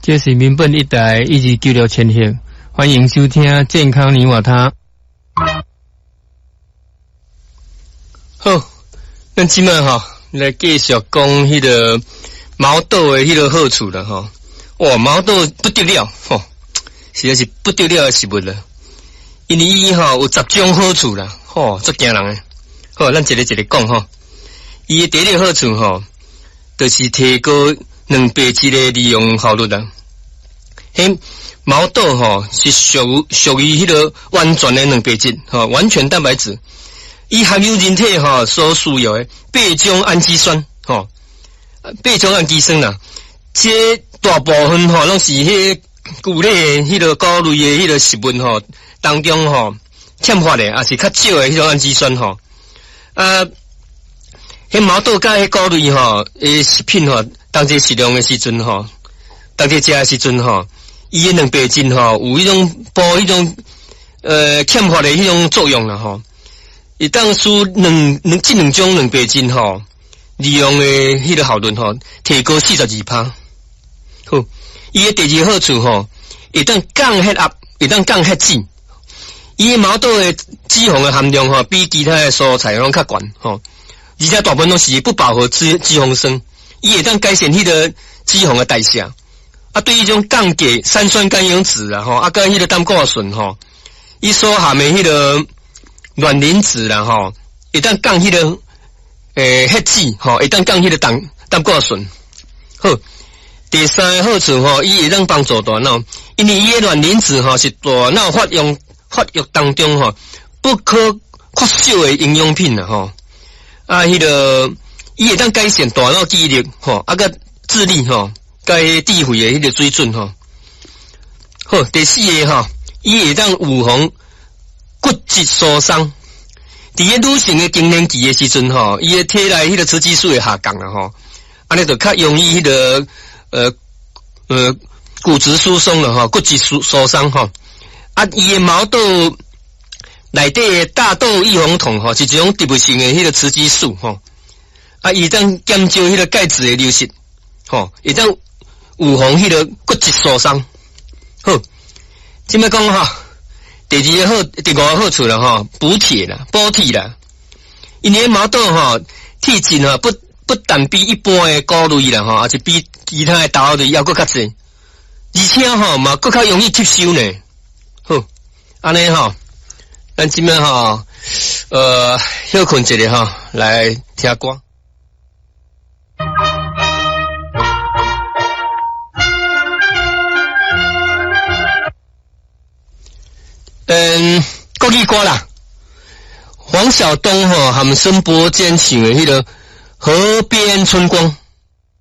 這是民本一台1296千赫，歡迎收聽健康你我他。好，咱這擺吼來繼續講彼个毛豆的彼个好處啦吼。哇，毛豆不得了吼，實在是不得了的食物啦。因為伊吼有10種好處啦，吼，足驚人的。好，咱一个一个講吼。伊的第一个好處吼，就是提高蛋白質的利用效率啦。彼毛豆吼是屬於彼个完全的蛋白質，吼，完全蛋白質。伊含有人體吼所需要的八種氨基酸，吼，八種氨基酸啦。這大部分吼攏是彼穀類的彼个穀類的彼个食物吼當中吼欠乏的，抑是較少的彼種氨基酸吼。啊，彼毛豆佮彼穀類吼的食品吼，當這適量的時陣吼，當這食的時陣吼，伊的蛋白質吼有彼種補彼種欠乏的彼種作用啦吼。會當使兩兩這兩種蛋白質吼利用的彼个效率吼提高42%。好，伊的第二個好處吼，會當降血壓，會當降血脂。伊的毛豆的脂肪的含量吼，比其他的蔬菜攏較懸吼，而且大部分攏是不飽和脂肪酸，伊會當改善彼个脂肪的代謝。啊，對彼種降低三酸甘油酯啦吼，啊，佮彼个膽固醇吼，伊所含的彼个卵磷脂啦吼，會當降彼个血脂吼，會當降彼个膽固醇。好，第三个好處吼，伊會當幫助大腦，因為伊的卵磷脂吼是大腦發育當中吼不可缺少的營養品啦吼。啊，彼个伊會當改善大腦記憶力吼，啊，佮智力吼，佮智慧的彼个水準吼。好，第四个吼，伊會當預防骨質疏鬆。佇个女性的更年期的時陣吼，伊的體內彼个雌激素會下降啦吼，按呢就較容易彼个骨質疏鬆了吼，骨質疏鬆吼。啊，伊的毛豆內底的大豆異黃酮吼，是一種植物性的彼个雌激素吼。啊，伊會當減少彼个鈣質的流失吼，會當預防彼个骨質疏鬆。好，這擺講吼。第二个好，第五个好處啦吼，補鐵啦，補鐵啦。因為毛豆吼，鐵質吼不但比一般的穀類啦吼，抑是比其他的豆類猶閣較濟，而且吼嘛閣較容易吸收呢。好，按呢吼，咱這擺吼，歇睏一下吼，來聽歌。嗯，國語歌啦，黃曉東吼和孫伯堅唱的彼个《河邊春光》。